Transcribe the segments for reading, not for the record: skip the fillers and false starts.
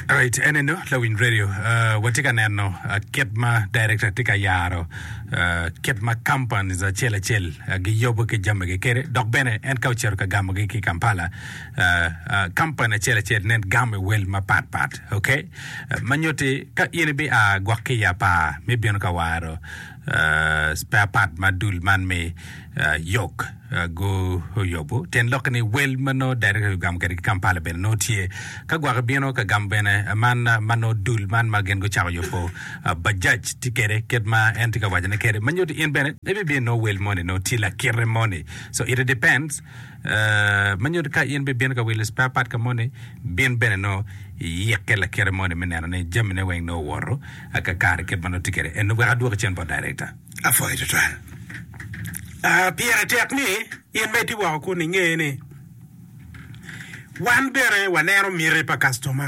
Alright, en eno lawiny radio uh, watye ka neno uh, kit ma director tye ka yaro uh, kit ma companies acel acel uh, giyubo ki jamigi kede dok bene en ka ocito ka gamogi ki Kampala uh, uh, company acel acel nen gamo i wel mapat pat okay uh, ma nyutti ka in ibi a gwok ki i apar me bino ka waro uh, spare part ma dul man me uh, yok Guyubo tyen lokke ni wel ma nongo director ogamo kwede ki Kampala bene nongo tye. Ka gwok ibino ka gamo bene man ma nongo dul man ma gin gucako yubo bajaj tye kwede kit ma en tye ka wacone kwede ma nyuto in bene ibibino nongo wel moni nongo tye lakite moni. So it depends ma nyuto ka in bibino ka wilo spare part ka moni bin bene nongo iyikke lakite moni me neno ni jamine weng nongo owoto kakare kit ma nongo tye kwede. Eno wek adwoki cen bot director. Apwoyo tutwal. Pire tek ni in ma itye woko kun inge ni wan bene waneno miti pa kactoma.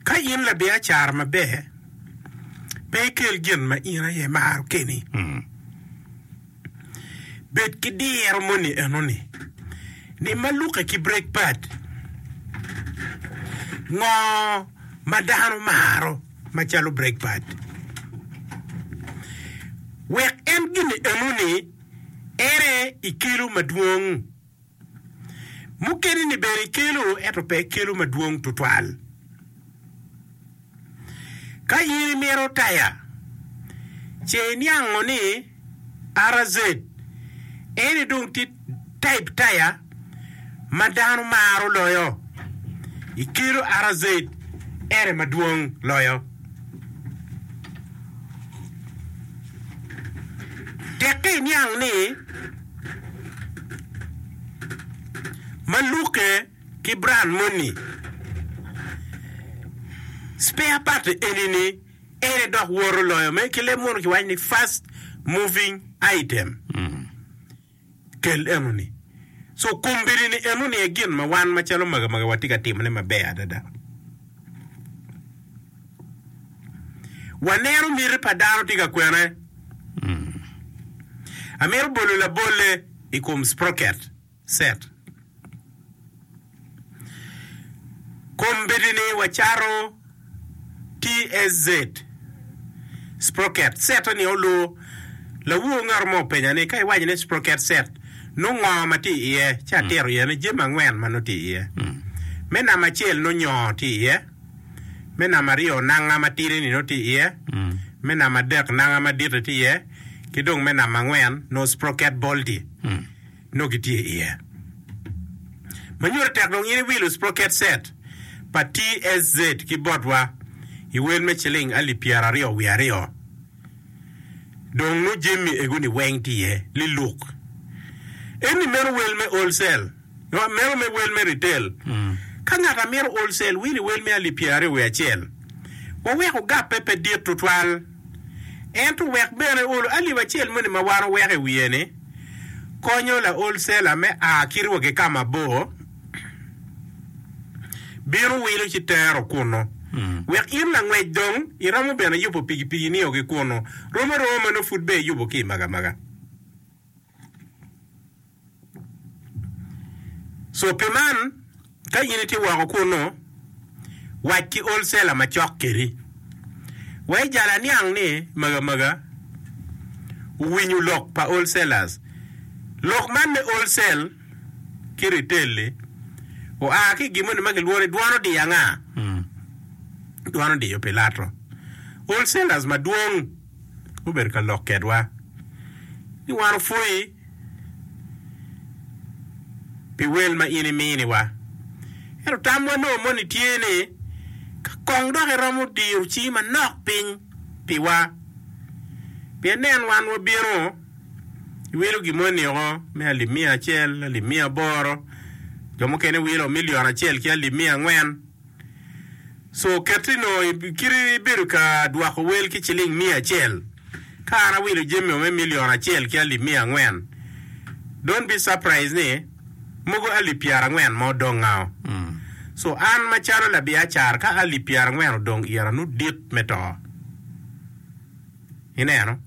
Ka in labiacara maber, pe ikel gin ma in aye imaro keni. Bed ki diro moni enoni ni ma lukke ki brake pad, ngo ma dano maro? macalo brake pad. Wek en gin enoni ere i kelo madwong. Mukene-ni bene ikelo ento pe ikelo madwong tutwal. Ka in imito taya, ce iniango ni RZ eni dong tye type taya ma dano maro loyo. Ikelo RZ ene madwong loyo. Tekke iniang ni ma lukke ki brand moni spare part eni-ni Ene dok woto loyo me ki leb munu kiwaco ni fast moving item. Kel eno ni. So kombeddi ni eno ni aye gin ma wan macalo maga maga watye ka timone maber adada. Waneno miti pa dano tye ka kwene. Amito bolo labolle i kom sprocket set. Kombeddi-ni wacato TSZ, sprocket set-ni olu. Lawor ngat mo openya ni, Ka iwaco ni sprocket set, nongo ngo ma tye iye? Ci atito iye ni jami angwen ma nongo tye iye. Me namba acel nongo nyo tye iye, me namba aryo nanga matidi-ni nongo tye iye, me namba adek nanga madit-ti tye iye, ki dong me namba angwen nongo sprocket bolt-ti. nongo gitye iye. Ma nyuto tek dong in iwilo sprocket set pa TSZ ki botwa i wel me ciling alip 22 wiye. Dong nongo jami ego ni weng tye iye liluk. Eni meno wel me wholesale, meno me wel me retail. Ka ngat a mito wholesale wilo i wel me alip 21. Waweko gappe pe dit tutwal. Ento wek bene olo alip acel moni ma wan oweko i wiye ni konyo laol cela me a kit wa ki ka mabor bino wilo ci tero kunnu. Wek in langwec dong iromo bene yubo pikipiki nio ki kunnu. Rom aroma ma nongo pud bene iyubo ki i Magamaga. So pi man, ka in itye woko kunnu, wac ki olcela macok kedi. Wa ijal aniang ni Magamaga owinyo lok pa wholesalers. Lok man me wholesale ki retail-li oa ki i gin moni ma kilwongo ni dwon odiyo anga? Dwon odiyo Pilato. Wholesalers madwong gubedo ka lok kedwa ni wan opwoyi pi wel ma in iminiwa. Ento tamwa nongo moni tye ni ka kong dok iromo diyo cingi manok piny piwa, pien nen wan wabino iwilo gin moni oko me alip miya acel, alip miya aboro, jo mukene wilo milion acel ki alip miya angwen. So keti nongo kit ibedo ka dwoko wel ki ciling miya acel, ka an awilo jami me milion acel ki alip miya angwen, don't be surprised ni mogo alip pyerangwen ma odongao. So an macalo labiacara ka alip pyerangwen odong ira nongo dit me to. Ineno?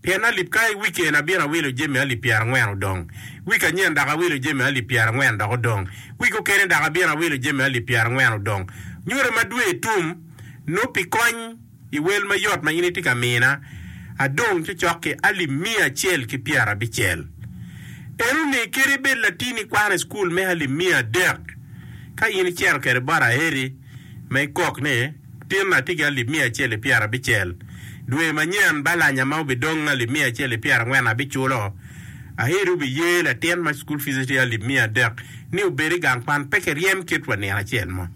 Pien alip ka i wiki eni abino awilo jami alip pyerangwen odong. Wiki anyen dok awilo jami alip pyerangwen dok odong. Wiki okene dok abino awilo jami alip pyerangwen odong. Nyute ma dwe tum, nongo pi kony i wel mayot ma in itye ka mina, adong cocok ki alip miya acel ki pyerabicel. Enoni kadi bed latini kwano i cukul me alip 300, ka in icito kwede bot Aheri ma ikok ni, Tin atye ki alip 160, dwe manyen balanya ma obidong alip 140 abiculo. Aheri obiye latin ma cukul fice tye alip 300 ni obed i gang kwan pe kiryem kit wa nino acel mo.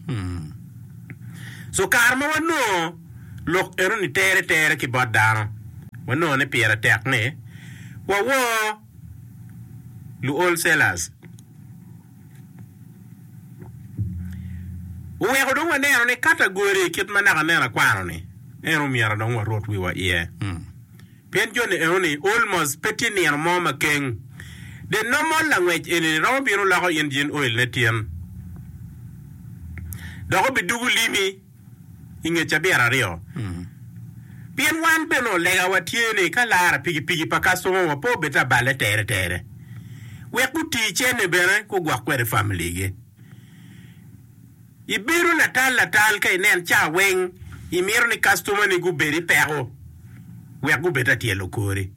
So kare ma wanongo lok enoni tere tere ki bot dano, wanongo ni pire tek ni wawor lu wholesalers. Oweko dong waneno ni katagori kit ma naka nen akwano-ni, en omyero dong warot wiwa iye. Pien joni enoni almost pe tye nino mo ma keng. The normal langwec enini romo bino loko engine oil ne tyen dok obidugo limi i nge cabit aryo. Pien wan bene olegawa tye ni ka lara pikipiki pa kastoma wa pe obed aballe tere tere wek guti cene bene gugwok kwede family gi. Ibedo latal latal ka inen ca weng imito ni kastoma ni gubed i peko wek gubed ta tyelo kori.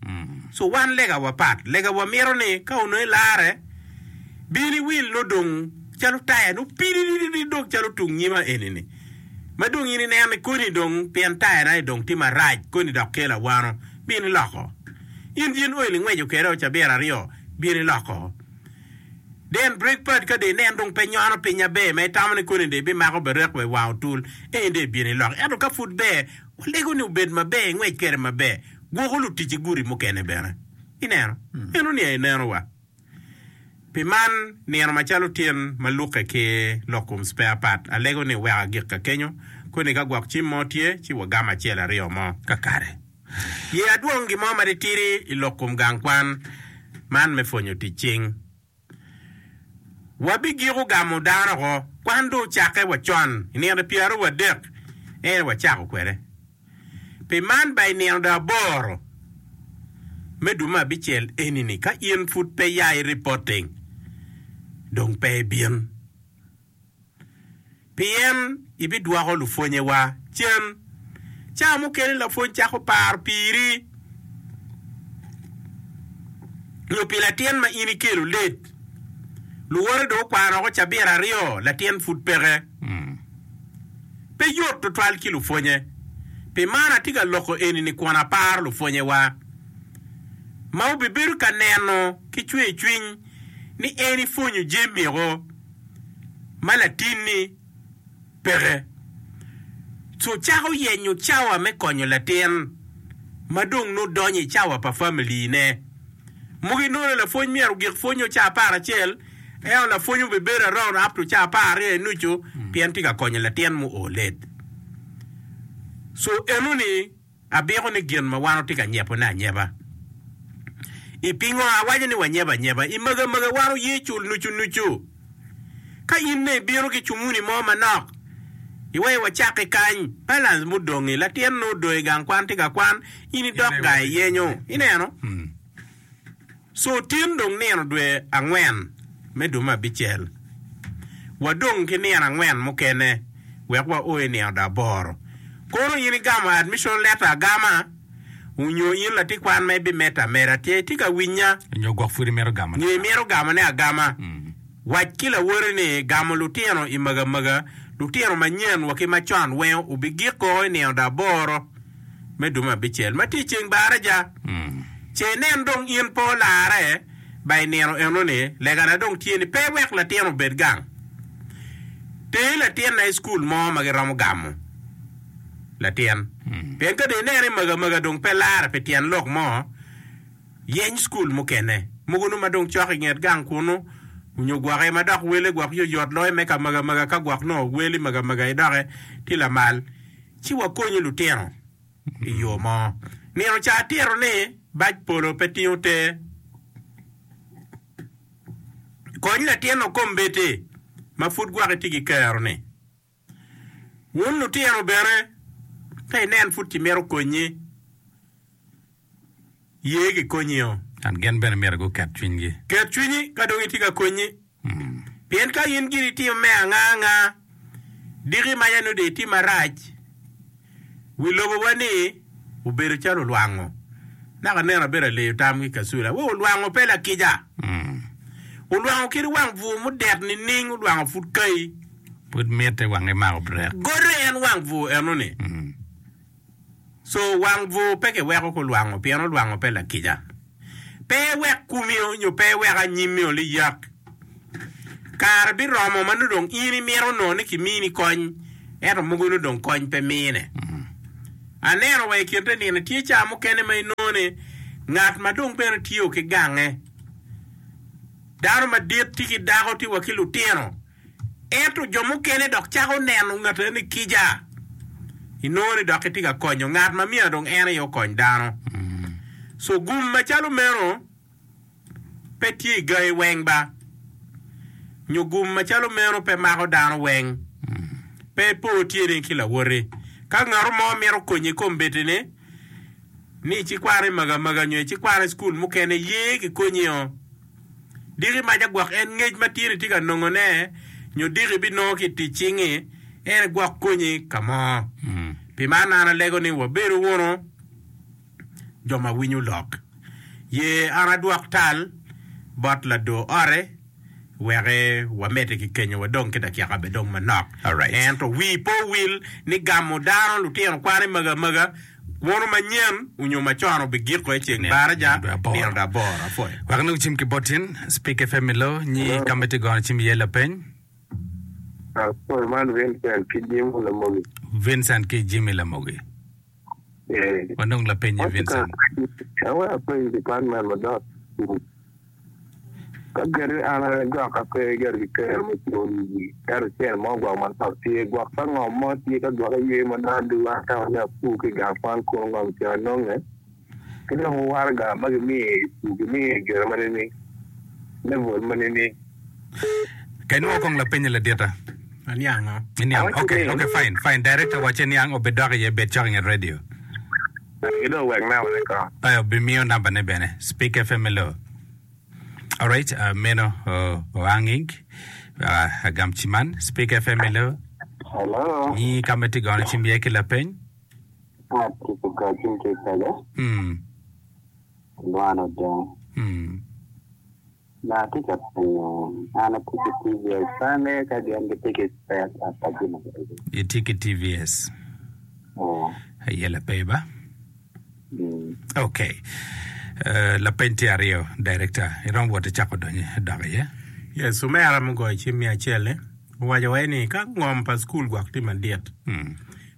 So wan lega wa pat. Lega wa mito ni ka onongo ilare bin iwil nongo dong calo taya nongo pidididi dong calo tung nyima eni ni ma dong in ineno ni koni dong pien taya na ni dong tye marac koni dok kelo awano bin iloko. In gin oil ingweco kwede o cabit aryo bin iloko. Then brake pad ka dong inen dong pe nyono piny aber ma itamo ni koni dong ibimako berek wa i wang otul eni dong ibino iloko. Ento ka pud ber, walego ni obed maber ingwec kwede maber. Gwoko lutic i gudi mukene bene. Ineno? Eno ni aye neno wa. Pi man, nino macalo tyen ma lukke ki lok kom spare part, alego ni wek agik ka kenyo. Koni ka gwok cim mo tye, ci wagamo acel aryo mo. Kakare. Ye adwong gin mo matitidi i lok kom gang kwan man me pwonyo tic cing. Wabigiko gamo dano oko. Kwan dong ocakke wa con i nino pyeraryo en aye wacako kwede. Pi man ba i nino dong aboro me dwe me abicel eni-ni ka in pud pe ya i reporting dong pe ibin. Pien ibidwoko lupwonyewa cen. Cawa mukene lapwony cako paro piri nyo pi latin ma in ikelo late. Luwote dong okwano woko cabit aryo, latin pud peke. Pe yot tutwal ki lupwonye. Pi man atye ka loko eni-ni kun aparo lupwonyewa ma wubibedo ka neno ki cwercwiny ni en ipwonyo jami-o. ma latinni peke. Co cako yenyo cawa me konyo latin ma dong nongo donyo i cawa pa familine. Mogo inongo ni lapwony myero ogik pwonyo ca aparacel, ento lapwony obibedo around up to ca apararyo i nucu pien tye ka konyo latin muo late. So enoni. Abiko ni gin ma wan watye ka nyebone anyeba. I Pingo awaco ni wanyebo anyeba? I maga maga wan oye cul nucu nucu. Ka in ne ibino ki cumuni mo manok, iweyo wacakke kany, balance mudongi, latin nongo odong i gang kwan tye ka kwan, in idok gang iyenyo. Ineno? Co tin dong nino dwe angwen me dwe me abicel. Wadong ki nino angwen mukene wek wao i nino dwe aboro. Kono in igamo admission letter agama onyo in latin kwan ma ibimedde ameda tye itye ka winya? Nyo gwok pud imito gamone Nyo imito gamone agama? Wac ki lawoti ni gamo lutino i magamaga, lutino manyen wa ki macon weng obigik koko i nino dwe aboro. me dwe me abicel ma tye i ceng baraja. Ce inen dong in pe olarre ba i nino eno-ni, legana dong tye ni pe iwek latin obed gang. Ter latinna i cukul mo ma giromo gamo latin. Pien ka dong ineno ni magamaga dong pe larre pi tyen lok mo, yeny cukul mukene. Mogo nongo ma dong cok i nget gang kunu, nyo gwoke ma dok wele gwok yoyot loyo me ka magamaga ka gwok nongo wel i magamaga idoke tye lamal. ci wakonyo lutino i yo mo. Nino ca atito ni bac polo pe tingo ter. Kony latin-nu kombeddi ma pud gwok itye ki kero-ni. Wun lutino bene, ka inen pud kimito konyi. Ye gikonyio. And gin bene myero guket cwinygi. Ket cwinyi ka dong itye ka konyi. Pien ka in giri itimo me anga anga, diki maca nongo dong itimo marac. Wi lobowa ni obedo calo olwango. Naka neno abedo aleyo tam ki kacula. Wa olwango pe lakica. Olwango kadi wang bur mudet nining olwango pud kai. Pud mitte wange mako brek. Godo en wang bur eno-ni. Co wang bur pe kiweko ki olwango pien olwango pe lakica. Pe iwek komi nyo pe iwek anyimmi oliyak. Kare biromo ma nongo dong in imito nongo ni kimini kony ento mogo nongo dong kony pe mine. Aneno wa i kin te nino tye ca mukene ma inongo ni ngat ma dong bene tiyo ki gange, dano madit tye ki dako tye wa ki lutino. Ento jo mukene dok cako neno ngat eno ni kica. Inongo ni dok kitye ka konyo ngat ma myero dong en aye okony dano. So gum macalo meno pe tye i gangi weng ba. Nyo gum macalo meno pe mako dano weng. Pe ipor tyeni ki lawoti. Ka ngato mo mito konyi i kombeddi-ni, ni icikwan i magamaga nyo icikwan i cukul mukene, ye kikonyio. Diki maca gwok en ngec ma tye ni tye ka nongo ne nyo diki ibinongo ki i tic cingi en gwok konyi ka mo. Pi man an alego ni wabedu wunu jo ma winyo lok. Ye an adwok tal bot lador ote wek wamedde ki kenyo wadong ki dakika bene dong manok. Ento wii pe owil ni gamo dano lutino kwan i maga maga Wono manyen onyo macon obigiko i ceng baraja nino do aboro. Apwoyo. Wek anong cim ki bot in, Speak FM i lo, nyi ka ma itye gono cim iye lapeny. Apwoyo man Vincent ki Jimmy Lamogi. Vincent ki Jimmy Lamogi. Eh. Wanong lapeny i Vincent. Awek apeny department madok. Ka kadi an aye gwok ape gire ki kero me culo ento cente mo gwok manok tye, gwok ka ngom mo tye ka gwok iywe ma dong aduwa atamo ni apur ki i gang kwan kunu ngom ca anonge ki dong waraga ma gimiyo i pur gimiyo i gire ma nining, level ma nining. Ka inwongo kong lapenye ladita. Aniango. Iniang. Okay, okay, fine, fine. Director wacce niang obidok iye bed cok i nget radio. Ki dong wek nambane kong. Aye obimiyo nambane bene. Speak FM hello. Alright, uh, meno uh, oanging uh, agam ciman. Speak FM hello. Hello. Nyi ka ma itye gono cim iye ki lapeny. Atye ka goyo cim ki i paco. Mm. Lwano dong. Mm. Ma atye ka penyo, an atye ki TVS pe angeyo ka gin gitye ki spare part pa jami magi. Itye ki TVS? Oo. Aye lapeny ba? Mm. Ok. Uh, lapeny tye aryo, director. Iromo wot icako donyo dok iye? Yes, omera mugoyo cim me acel-li owaco wai ni ka ngom pa cukul gwok tye madit Mm.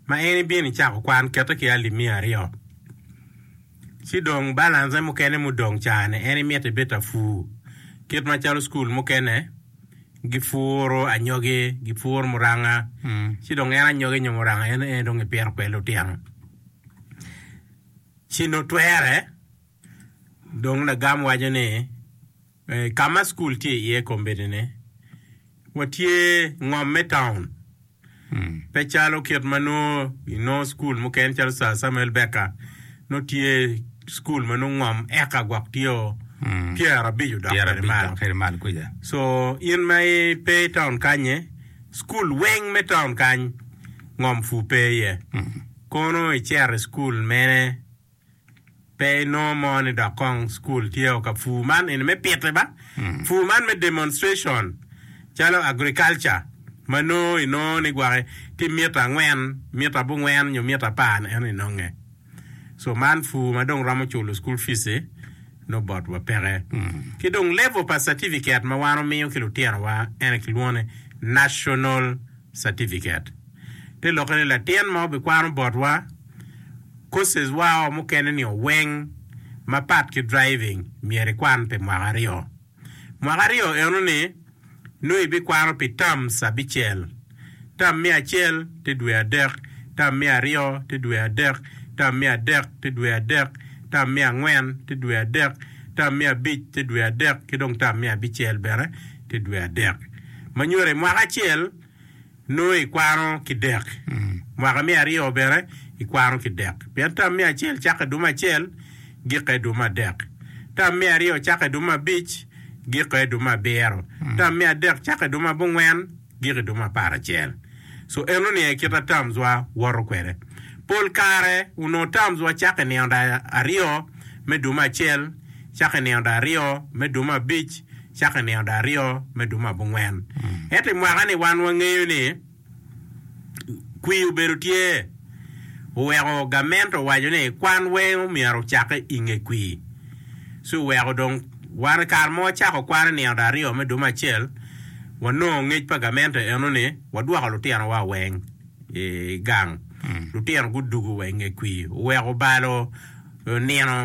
ma en ibino icako kwan kete ki alip miya aryo. Ci dong balance mukene mudong ca-ni en imito ibed ta pur. Kit macalo cukul mukene gipuro anyogi, gipuro muranga, ci dong en anyogi nyo muranga en aye dong ipito kwede lutino. Ci nongo twere dong lagam waco ni Ka ma cukul tye iye kombeddi-ni, watye ngom me taun. Pe calo kit ma nongo inongo cukul mukene calo Sir Samuel Baker nongo tye cukul ma nongo ngom eka gwok tye o pyerabic odok kwede malo. So in ma ipe i taun kany-nyi, cukul weng me taun kany ngom pur pe iye. Kono icito i cukul mene? Pe inongo mo ni dok kong cukul tye o ka pur man eni me pite ba, pur man me demonstration calo agriculture ma nongo inongo ni gwake tye mita angwen, mita abongwen nyo mita apar ni eno inonge. So man pur ma dong romo culo school fees nongo bot wa peke. Ki dong level pa certificate ma wan omiyo ki lutino wa ene kilwongo ni national certificate. Te lokke ni latin ma obikwano botwa Courses wa o mukene ni oweng mapat ki driving myero ikwan pi mwaka aryo. Mwaka aryo eno ni nongo ibikwano pi terms abicel. Term me acel tye dwe adek, term me aryo tye dwe adek, term me adek tye dwe adek, term me angwen tye dwe adek, term me abic tye dwe adek ki dong term me abicel bene tye dwe adek. Ma nyuto i mwaka acel Nongo ikwano ki dek. Mwaka me aryo bene ikwano ki dek. Pien tam me acel cakke dwe me acel, gikke i dwe me adek. Tam me aryo cakke i dwe me abic, gikke i dwe me abiro. Tam me adek cakke i dwe me abongwen, gik i dwe me aparacel. So enoni aye kit a terms wa woto kwede. Pol kare onongo terms wa cakke i nino aryo me dwe me acel, cakke i nino aryo me dwe me abic, cakke i nino aryo me dwe me abongwen. Ento i mwaka-ni wan wangeyo ni kwir obedo tye oweko gamente owaco ni kwan weng omyero ocakke i nge kwir. Ci oweko dong wan i kare ma wacako kwan i nino aryo me dwe me acel, wanongo ngec pa gamente eno ni wadwoko lutinowa weng i gang. Lutino gudugo wa i nge kwir oweko obalo nino.